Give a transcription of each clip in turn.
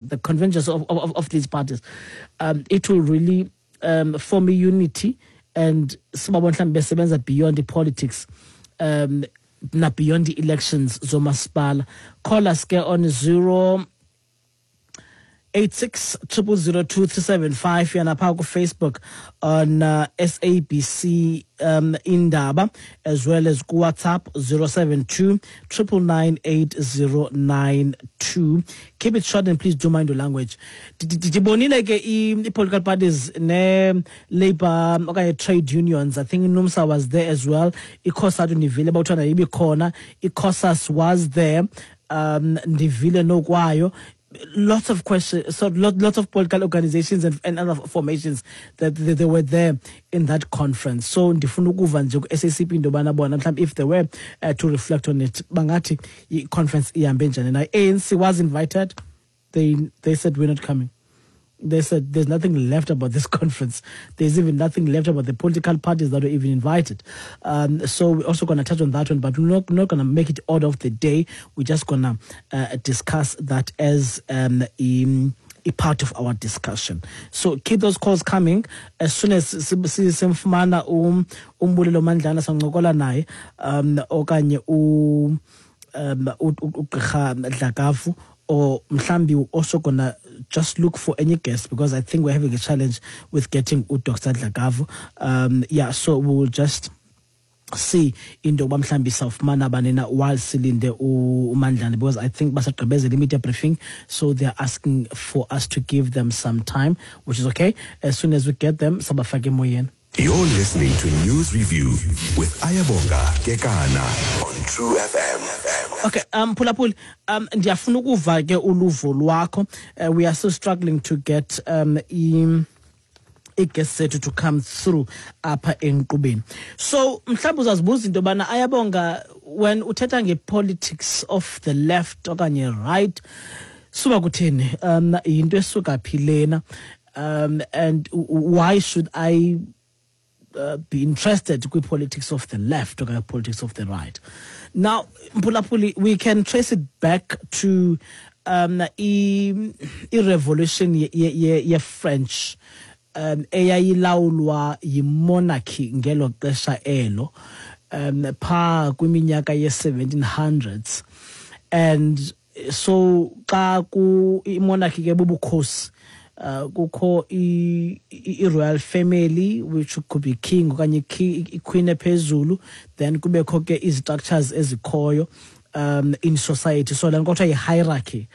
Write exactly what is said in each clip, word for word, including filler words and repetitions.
the convergence of, of, of these parties, um, it will really um, form a unity and sibabona mhlawumbe besebenza beyond the politics um na beyond the elections zomasipala. Call us ke on zero eight six triple zero two three seven five yana pha ku Facebook on uh, S A B C um, Indaba, as well as ku WhatsApp zero seven two triple nine eight zero nine two. Keep it short and please do mind your language. Ndibonile ke i political parties ne labor okanye trade unions. I think NUMSA was there as well. ICOSATU ndivile bawuthanda ibikhona. ICOSAS was there. Um, ndivile nokwayo. Lots of questions, so lot, lots of political organizations and, and other formations that they, they were there in that conference. So ndifuna ukuva nje ku S A C P into yobana bona mhlawumbi if they were, uh, to reflect on it, bangathi i-conference ihambe njani na. A N C was invited. They, they said we're not coming. They said there's nothing left about this conference. There's even nothing left about the political parties that were even invited. Um, so we're also gonna touch on that one, but we're not, not gonna make it order of the day. We're just gonna, uh, discuss that as, um, a, a part of our discussion. So keep those calls coming. As soon as simfumana um, uMbulelo Mandlana sancokola naye, um, okanye u, um, u, u, uGqirha Dlakavu, or mhlambi we're also gonna just look for any guest, because I think we're having a challenge with getting uDoctor Dlakavu. Um, yeah, so we will just see into yoba mhlambi sawufumana bani na while silinde uMandlane, because I think basagqibezela media briefing, so they're asking for us to give them some time, which is okay. As soon as we get them, sabafake emoyeni. You're listening to News Review with Ayabonga Kekana on True F M. Okay, um, Phulaphuli, um, ndiyafuna ukuva ke uluvo lwakho. Uh, we are still struggling to get, um, i-, i-guest sethu to come through apha enkqubeni. So mhlawumbi uzazibuza into yobana Ayabonga, when uthetha nge-politics of the left okanye right, suba kutheni? Um, yinto esuka phi lena? Um, and why should I Uh, be interested in politics of the left or politics of the right? Now, Mphulaphuli, we can trace it back to, um, i, i revolution ye, ye, ye, ye French, um, eyayilawulwa yimonarchy ngelo xesha elo, um, pha kwiminyaka ye seventeen hundreds. And so xa ku imonarchy ke bubukhosi, Uh, kukho i, i, i royal family, which could be king okanye ki-, i queen ephezulu, then kubekho ke izi-structures ezikhoyo, um, in society. So le nto kuthiwa yi-hierarchy,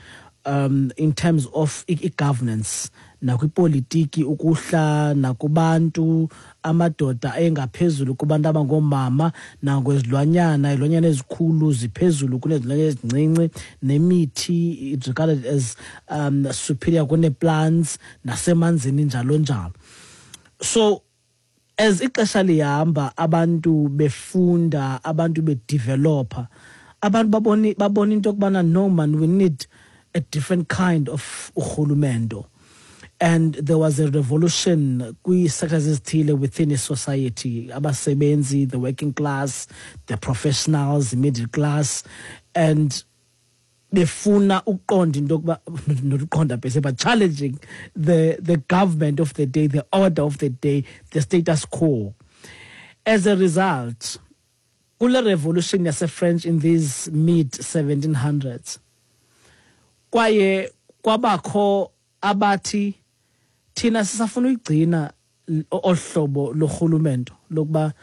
um, in terms of i-, i-governance, nakwipolitiki ukuhla nakubantu, amadoda engaphezulu kubantu abangoomama, nangokwezilwanyana, izilwanyana ezikhulu ziphezulu kunezilwanyana ezincinci, nemithi it's regarded as, um, superior kune-plants, nasemanzini njalo njalo. So as ixesha lihamba, abantu befunda, abantu bedevelopa, abantu baboni, babona into yokubana no man, we need a different kind of urhulumento. And there was a revolution kwi-sectors ezithile within a society, abasebenzi, the working class, the professionals, the middle class, and befuna ukuqonda into yokuba, not ukuqonda per se, but challenging the, the government of the day, the order of the day, the status quo. As a result, kule revolution yase-French in these mid seventeen hundreds, kwaye kwabakho abathi thina sisafuna uyigcina ohlobo lorhulumento lokuba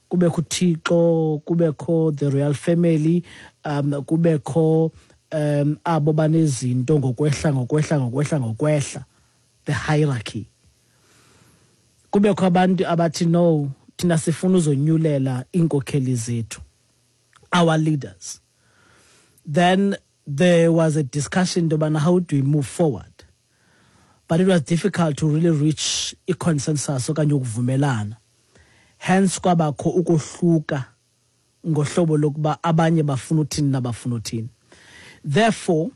kubekho uThixo, kubekho the royal family, um, kubekho, um, abo banezinto ngokwehla, ngokwehla, ngokwehla, ngokwehla, the hierarchy. Kubekho abantu abathi no, thina sifuna uzonyulela iinkokheli zethu, our leaders. Then there was a discussion about how do we move forward. But it was difficult to really reach a consensus okanye ukuvumelana. Hence kwabakho ukohluka ngohlobo lokuba abanye bafuna uthini nabafuna uthini. Therefore,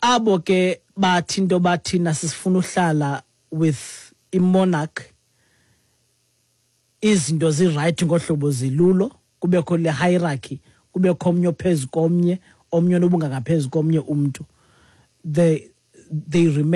abo ke bathi into bathina sifuna uhlala with i-monarch, izinto zi-right ngohlobo zilulo, kubekho le hierarchy, kubekho omnye ophezu komnye, omnye onobungangaphezu komnye umntu. The, they remain.